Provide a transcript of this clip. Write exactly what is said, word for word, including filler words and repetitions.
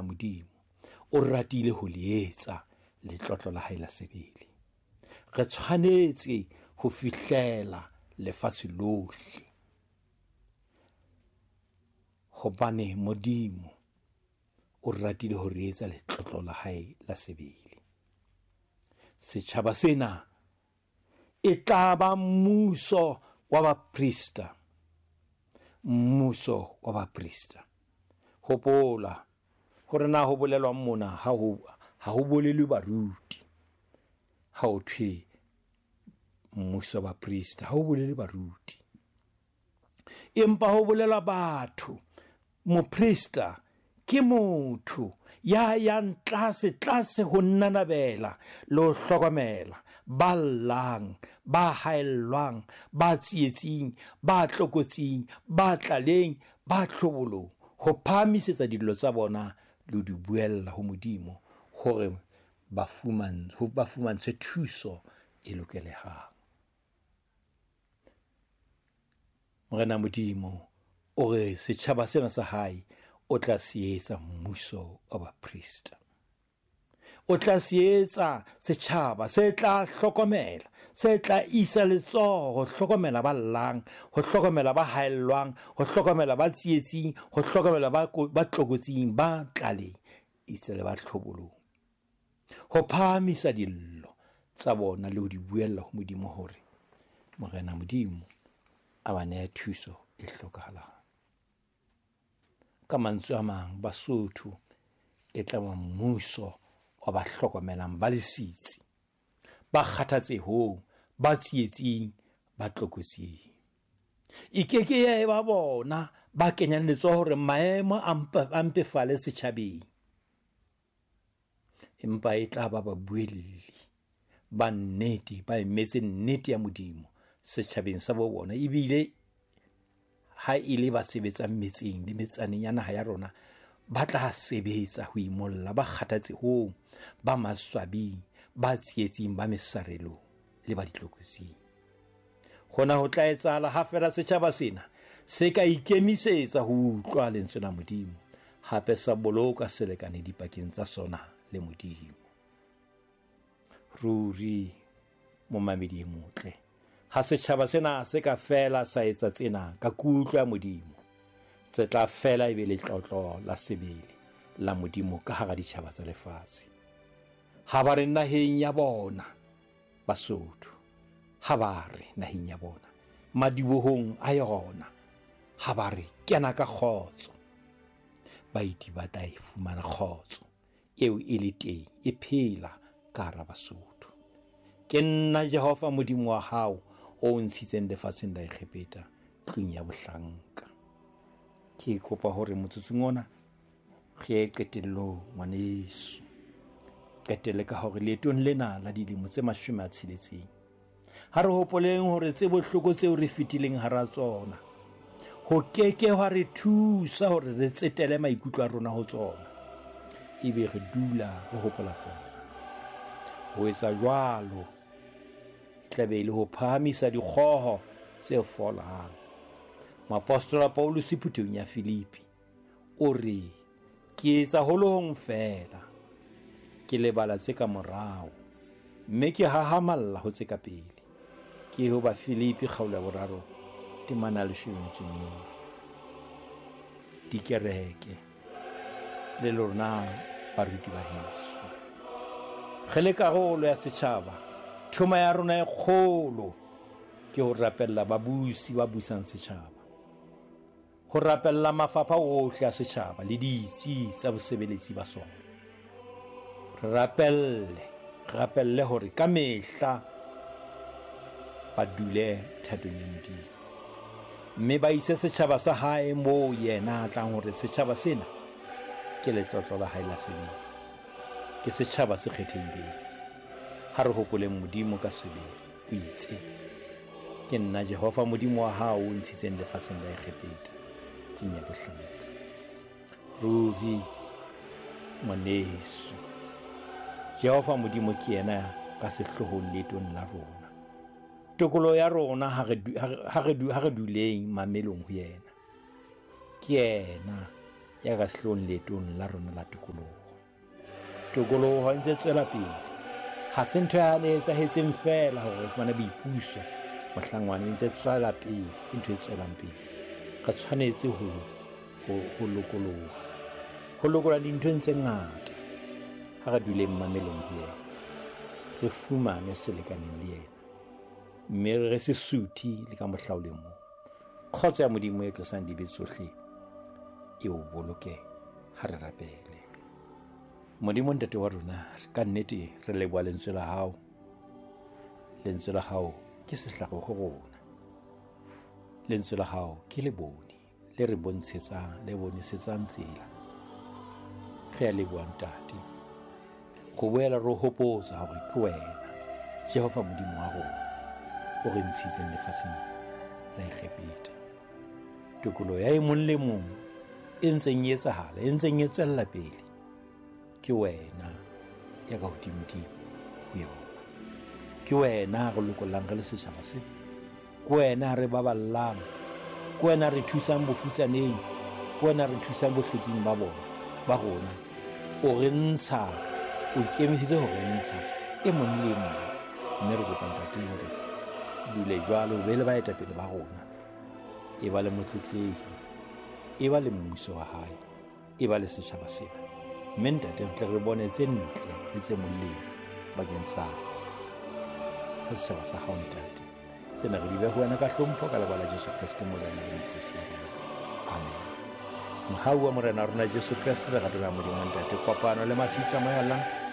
Modimo o ratile ho le etsa letlotlo la hae la sebele. Re tshwanetse ho fihlela lefatshe lohle, hobane Modimo o ratile ho re etsa letlotlo la hae la sebele. Setjhaba sena e tla ba mmuso wa baprista, mmuso wa baprista. Hopola hore na ho bolelwang mona, ha ho ha ho bolelwe baruti. Ha ho thwe mmuso wa baprista, ha ho bolelwe baruti, empa ho bolelwa batho. Moprista ke motho ya yang tlase tlase ho nnanabela le ho hlokomela ba llang, ba haellwang, ba tsietsing, ba tlokotsing, ba tlaleng, ba tlhobolong, ho phahamisetsa dillo tsa bona le ho di buella ho Modimo hore ba fuman ho ba fumantshwe thuso e lokelehang. Morena Modimo o re setjhaba sena sa hae o tla se etsa mmuso wa baprista. O tla se etsa setjhaba se tla hlokomela, se tla isa letsoho ho hlokomela ba llang, ho hlokomela ba haellwang, ho hlokomela ba tsietsing, ho hlokomela ba ba tlokotsing, ba tlaleng, itse le ba tlhobolong, ho phahamisa dillo tsa bona le ho di buella ho Modimo hore Morena Modimo a ba nehe thuso e hlokahalang. Ka mantswe a mang, Basotho e tla ba mmuso wa ba hlokomelang ba lesitsi, ba kgathatsehong, ba tsietsing, ba tlokotsing. E ke ke ya eba bona ba kenyang letsoho hore maemo a mpefale setjhabeng, empa e tla ba babuelli ba nnete, ba emetse nnete ya Modimo setjhabeng sa bo bona. Ebile ha e le ba sebetsang metseng le metsaneng ya naha ya rona, ba tla sebetsa ho imolla ba kgathatsehong, ba maswabing, ba tsietsing, ba mesarelong le ba ditlokotsing. Hona ho tla etsahala ha feela setjhaba sena se ka ikemisetsa ho utlwa lentswe la Modimo, hape sa boloka selekane dipakeng tsa sona le Modimo. Ruri momamedi e motle, ha setjhaba sena se ka fela sa etsa tsena ka kutlo ya Modimo, se tla fela e be letlotlo la sebele la Modimo ka hara ditjhaba tsa lefatshe. Ha ba re naheng ya bona Basotho, ha ba re naheng ya bona, madibohong a yona, ha ba re kena ka kgotso, baeti ba tla e fumana kgotso eo e le teng, e phela ka hara Basotho. Ke nna Jehova Modimo wa hao o ntshitseng lefatsheng la Egepeta, tlung ya bohlanka. Ke kopa hore motsotsong ona re ye qetellong, ngwaneso. Qetelle ka hore leetong lena la dilemo tse mashome a tsheletseng, ha re hopoleng hore tse bohloko tseo re fetileng hara tsona ho keke hwa re thusa hore re tsetele maikutlo a rona ho tsona, ebe re dula re hopola tsona. Ho etsa jwalo e tla be e le ho phahamisa dikgoho tse folang. Moapostola Paulus phuthehong ya Filipi o re, ke etsa ho le hong feela, ke lebala tse ka morao, mme ke hahamalla ho tse ka pele. Ke ho ba Filipi kgaolo ya boraro temana ya leshome le metso e mene. Dikereke le lona baruti ba heso, re le karolo ya setjhaba, thoma ya rona e kgolo ke ho rapella babusi ba busang setjhaba, ho rapella mafapha ohle a setjhaba le ditsi tsa bosebeletsi ba sona. Re rapelle, rapelle hore ka mehla ba dule thatong ya Modimo, mme ba ise setjhaba sa hae moo yena a tlang hore setjhaba sena ke letlotlo la hae la sebele, ke setjhaba se kgethehileng. Ha re hopoleng Modimo ka sebele, o itse, ke nna Jehova Modimo wa hao o ntshitseng lefatsheng la Egepeta, tlung ya bohlanka. Ruri ngwaneso, Jehova Modimo ke yena ka sehloohong leetong la rona. Tokoloho ya rona ha re ha re ha re duleng mamelong ho yena. Ke yena ya ka sehloohong leetong la rona la tokoloho. Tokoloho e ntse tswela pele. Ha se ntho ya ne etsahetseng feela hore re fumane boipuso. Mohlangwane e ntse tswela pele, ke ntho e tswelang pele. Re tshwanetse ho ho ho lokoloha. Ho lokoloha dinthong tse ngata. Ha re duleng mamelong ho yena. Re fumane selekaneng le yena. Mme re se suthe le ka mohla o le mong. Kgotso ya Modimo e tlosang dibe tsohle e o boloke ha re rapele. Modimo Ntate wa rona, ka nnete re leboha lentswe la hao. Lentswe la hao ke sehlare ho rona. Lentswe la hao ke lebone le re bontshetsang, le bonesetsang tsela. Re a leboha Ntate. Go boela re hopotsa hore ke wena Jehova Modimo wa rona o re ntshitseng lefatsheng la Egepeta. Tokoloho ya e mong le mong e ntseng e etsahala, e ntseng e tswella pele, ke wena ya ka hodimodimo ho yona. Ke wena re lokollang re le setjhaba sena. Ke wena re baballang. Ke wena re thusang bofutsaneng. Ke wena re thusang bohloking ba bona, ba rona. O re ntsha, o ikemisitse ho re ntsha e mong le e mong. Mme re kopa Ntate hore dule jwalo, o be le baetapele ba rona. E ba le motlotlehi, e ba le mmuso wa hae, e ba le setjhaba sena. Mme Ntate re tle re bone tse ntle le tse molemo bakeng sa sa setjhaba sa hao Ntate. Tsena re di behe ho wena ka hlompho ka lebaka la Jesu Kreste Morena le Mopholosi wa rona. Amen. Mohau wa Morena wa rona Jesu Kreste, lerato la Modimo Ntate, kopano le matshediso a Moya o Halalelang